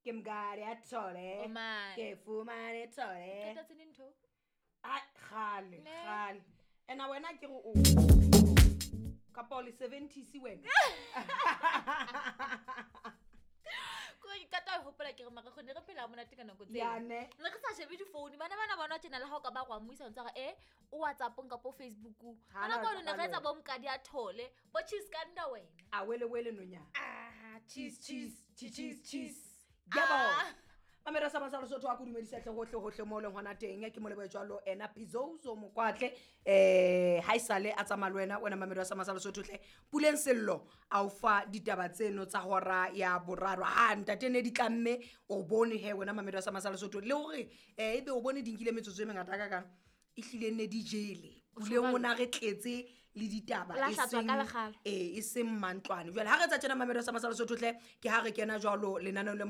Ke mokadi a thole. O mane. Ke fumane thole. Qeta tse neng ntho? Ai, kgale, Ne. kgale. Ena wena ke re o kapa o le 70s wena. Ko ke qeta ho hopola ke re mara kgone re phela monate ka nako tseo. Ya ne. Ne re sa shebe difounu bana bana bona tjena le ha o ka ba go amoisa ntse re e o WhatsApp-ong kapa o Facebook-ong. Ha Ka na nako eno ne re taba etsa le bo mokadi a thole, bo cheese ka nna wena. A wele wele nonyana. Ah, Cheese cheese cheese cheese cheese. Yebo. Ah. Mamela sa masalo sotho a kudumedisa tle hohle hohle mo leng hona teng ke mo lebohe jwalo ena Pizozo Mokwatle ha isale a tsamaya le wena wena mamelo sa masalo sotho tle Puleng Sello a o fa ditaba tseno tsa hora ya boraro ha ntate ne di tlamme o bone he wena mamelo sa masalo sotho le hore ebe o bone di nkile metsotso e mengata ka kang e hlile ne di jele Puleng o na re tletse le ditaba La e hlatswa seng- ka lekgala. e seng mantlwane jwale ha re etsa tjena mamelo sa masalo sotho tle ke ha re kena jwalo lenaneong le